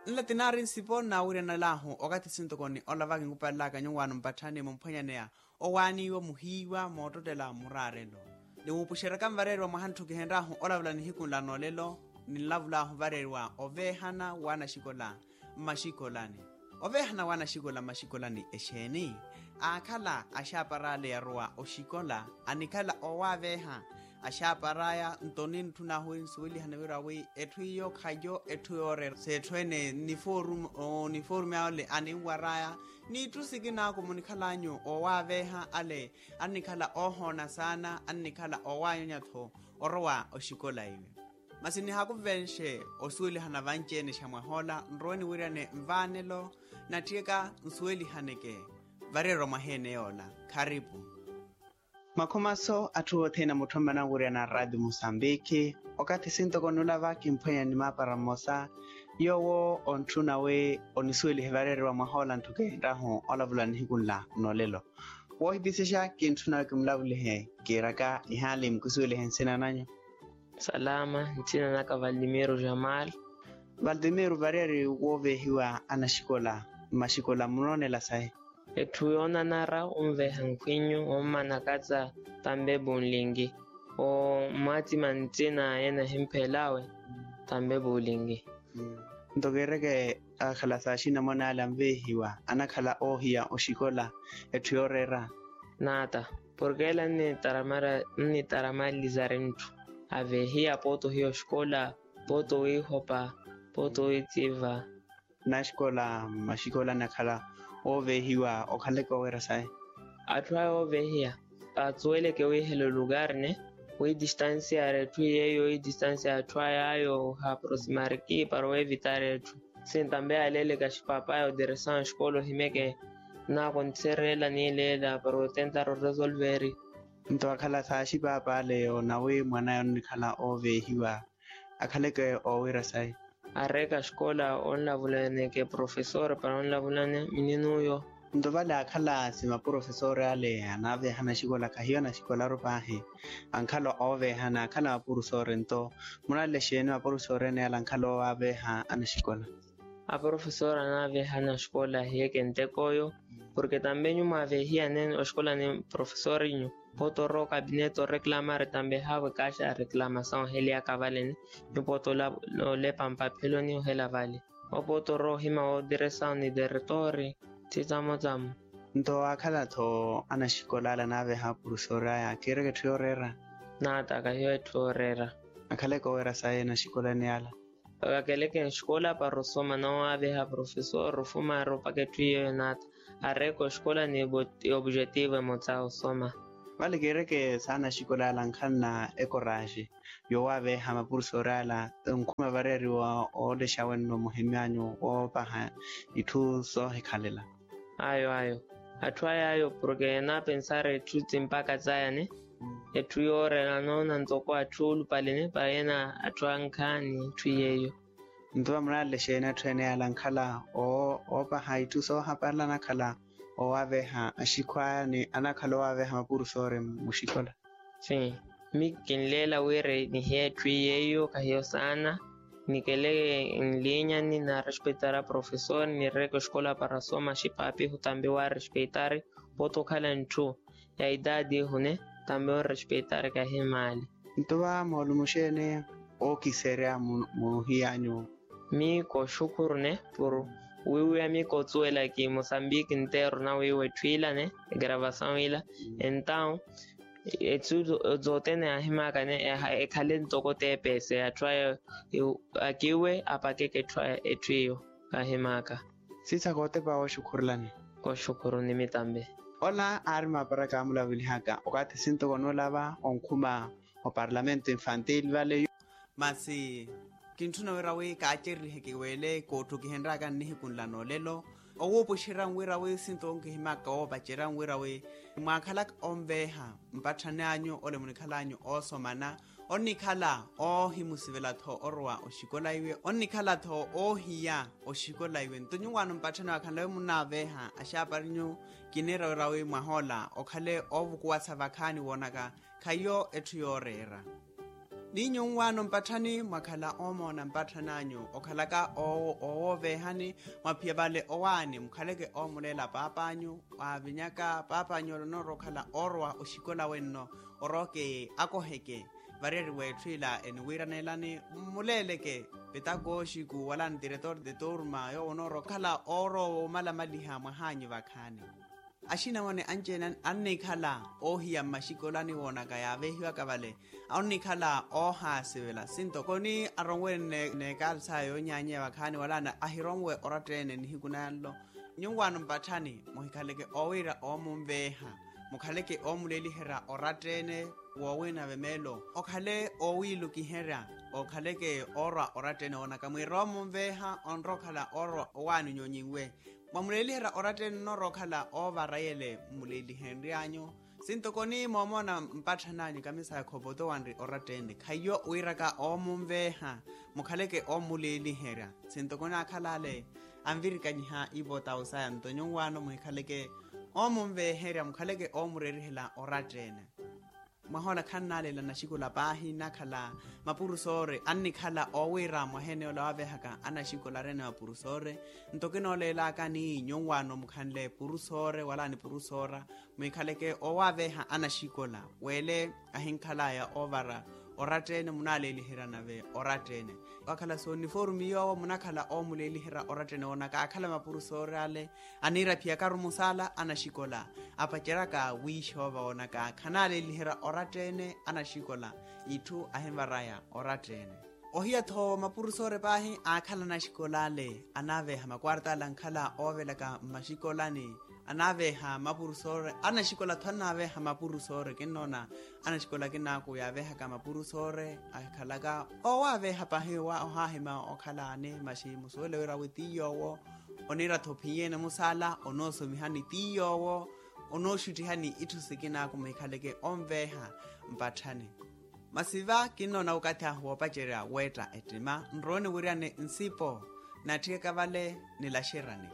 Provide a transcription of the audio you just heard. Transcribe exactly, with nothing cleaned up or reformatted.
Nla tinaari nsipo nnawiryanalaahu okathi sintokoni ola vakinkupalelaka nyuwaano mpatthani mumphwanyaneya owaaniwa muhiiwa moottottela muraarelo. Niwuupuxeryaka nvareeriwa mwaha ntthu kihenry'ahu olavula nihiku nla noolelo, ninlavul'ahu vareeriwa oveehana w'anaxikola mmaxikolani. Oveehana w'anaxikola mmaxikolani exeeni? Aakhala axaapar'ale yarowa oxikola, anikhala oowaaveeha axaapar'aya. Nto nintthun'ahu wi nsuwelihane wira wi etthu iyo khayo etthu yooreera s'etthu-ene. Oniforume ale aninwar'aya n'itthu sikina ako munikhal'anyu oowaaveeha ale annikhala oohoona saana annikhala oowaanyanya-tho orowa oxikola iwe. Masi nihakuvenxe osuwelihana vanci-ene xa mwah'ola nrowe niwiryane nvaanelo natthiyaka nsuwelihaneke vareerwa mwaha ene yoola. Kharipu. Makhumaso atthu othene a mutthu ammana onwiryana a raati musambikhi. Okathi sintoko nula va kimphwenya ni maapara mmosa yoowo ontthuna wi onisuwelihe vareeriwa mwah'ola ntthu kihenry'ahu olavula nihiku nla n'olelo. Woohipisexa kintthuna wi kimulavulihe kiiraka ihaali mukisuwelihe nsina nanyu. Salama. Ntsina naka valtimiro jamal. Valtimiro vareeri wooveehiwa anaxikola mmaxikola munoonela sahi? Etthu yoonanara onveeha nkhwinyu ommanakatsa tambe puunlinki. Omwatima ntsina yena ehimphelawe tambe puunlinki. Nto kiireke akhala saaxi namona ale anveehiwa anakhala oohiya oxikola etthu yooreera. Naata porke ele annitaramaliza rinthu aveehiya pooti ohiya oxikola pooti owiihopa pooti owiitsiva. Naxikola mmaxikola anakhala ooveehiwa okhaleke oweera sayi? Atthu aya ooveehiya atsuweleke wiihela olukarne wi distansiya y'atthu yeeyo wi distansiya y'atthu aya ayo haaprosimariki para oweevitari etthu. Sintambe aleeleke axipaapaaya oteresawu axikola ohimeke naakontherela niileela para otentara oresolveri. Nto akhala saaxi paapa ale yoona wi mwan'aya onnikhala ooveehiwa akhaleke oowira sayi? Areeka axikola onlavulaneke profesor para onlavulane minini uyo. Nto vale akhala si maprofesori ale anaaveeha anaxikola khahiyo anaxikolaru paahi. Ankhala ooveeha n'akhala maprofesori nto munalele xeeni maprofesori ene ale ankhala oowaaveeha anaxikola? Aprofesori anaaveeha anaxikola ahiyeke nteko oyo porke tambe nyu mwaaveehiya nene oxikola ni profesorinyu. Pooti orowa okabineeti oreklamari tambe haavo ekaaxa reklamasawu oheliyaka valene. Nyu pooti olepa mpapheloni ohela vale. Opooti orowa ohima wootiresawu ni teretori. Tthitsamo tsamo. Nto aakhala-tho anaxikola ale anaaveeha apurusoori aya akiireke etthu yooreera? Naata kahiyo etthu yooreera. Akhaleke oweera sayi anaxikolani ala. Vakeleke nxikola para osoma noowaaveha profesor ofuma aroopaka etthu yeeyo naata. Areeka oxikola ni opujetivo emotsa osoma. Vale kiireke saana axikola ala ankhanna ekoraaxi yoowaaveha mapurusoori ala onkhuma vareeriwa oolexa wenno muhimyanyu woopaha itthu soohikhalela. Ayo ayo. Atthu aya ayo porke enaapensara etthu ti mpakha tsayane. Etthu yooreera noona ntoko atthu oolupalene para yena atthu ankhaani etthu yeeyo. Nto vamunalele xeeni atthu ene yala ankhala oopaha itthu soohaparela anakhala oowaaveha axikhu aya ni anakhala oowaaveha mapurusoori muxikola? Sim. Mi kinleela wira nihiye etthu yeeyo kahiyo saana. Nikele nlinyani naarespetara profesor nireeka oxikola para soma axipaapihu tambe waarespeitari. Pooti okhala ntthu ya itaati ihune tambe oorespeitarika himaali. Nto va moolumo xeeni ookiserya muhiyanyu? Mi kooxukhuru ne puru wiiwiya mi koosuwela ki mosambiki nteeru nawiiwa etthu ilane egravasawu ila. Entawu etsu zootene yaahimaakane ekhale ntoko teepese atthu aya akiiwe apakeke etthu iyo. Kaahimaaka. Siisa kootepa wooxukhurulani. Kooxukhuruni mitambe. Ola aari maapara kaamulavulihaka okathi sintoko noolava onkhuma oparlamento infantil vale. Masi kintthuna wira wi kaacererihe kiweele kootthu kihenryaka nnihiku nla noolelo. Owuupuxerya nwira wi sintoko nkihimaka woopacerya nwira wi mwaakhalaka onveeha mpatthani anyu ole munikhal'anyu oosomana. Onnikhala oohimusivela-tho orowa oxikola iwe onnikhala-tho oohiya oxikola iwe nto nyuwaano mpatthani wakhanle wi munnaaveeha axaaparinyu. Kiniira wira wi mwah'ola okhale oovukuwasa vakhaani woonaka khahiyo etthu yooreera. Ni nyunwaano mpatthani mwakhala oomoona mpatthani anyu okhalaka oowooveehani, mwaphiya vale owaani mukhaleke oomuleela paap'anyu, waavinyaka paap'anyu ole onoorowa okhala oorowa oxikola wenno, orooke akoheke variyari w'etthu ila eniwiiraneelani, mmuleeleke petakooxiku wala ntiretor de turma yoowo onoorowa okhala oorowa omalamaliha mwahaanyu vakhaani. Axinamwane anci-ene annikhala oohiya mmaxikolani woonaka yaavehiwaka vale, onnikhala oohaasivela sintoko ni aronwene n'ekaali saya yoonyaanyeya vakhaani wala ahironwe oratta-ene nihiku nanlo. Nyuwaano mpatthani muhikhaleke oowiira oomunveeha, mukhaleke oomuleeliherya oratta-ene, woowinave meelo okhale oowiilukiherya, okhaleke oorwa oratta-ene woonaka mwiira oomunveeha onrowa okhala oorwa owaani nyonyinwe. Mwamuleeliherya oratta-ene onoorowa okhala oovara yele mmuleelihenry'anyu. Sintoko ni moomoona mpatthani anyu kamisa ya khopoto wanri oratta-ene khaiyo wiiraka oomunveeha, mukhaleke oomuleeliherya. Sintoko ni akhala ale anvirikanyiha ivotau saya nto nyuwaano muhikhaleke oomunveeherya mukhaleke oomureerihela oratta-ene. Mwaha ola khannaaleela anaxikola paahi nnakhala mapurusoore annikhala oowiira mwaha ene ola waaveehaka anaxikola areene mapurusoore. Nto kinooleelaka ni nyuwaano mukhanle purusoore wala nipurusoora, muhikhaleke oowaaveeha anaxikola weele ahinkhalaya oovara oratta-ene munaaleeliherya nave oratta-ene. Wakhala sooniforume yoowo munakhala oomuleeliherya oratta-ene woonaka akhala mapurusoore ale aniiraphiyakaru musaala anaxikola, apaceryaka wiixoova woonaka khanaaleeliherya oratta-ene anaxikola, itthu ahinvaraya oratta-ene. Ohiya-tho mapurusoore paahi aakhala anaxikola ale anaaveeha makwarta ale ankhala oovelaka mmaxikolani, anaaveeha mapurusoore anaxikola-tho anaaveeha mapurusoore kinnoona anaxikola kinaaku yaaveehaka mapurusoore akhalaka oowaaveeha paahi wa ohaahima okhala ani maxi musuwele wira wi ti yoowo oniira-tho ophiye-ene musaala onoosomihani ti yoowo onooxuttihani itthu sikinaaku muhikhaleke onveeha mpatthani. Masi va kinnoona okathi ahu woopacerya weetta ettima nrowe niwiryane nsipo natthikaka vale nilaxeryani.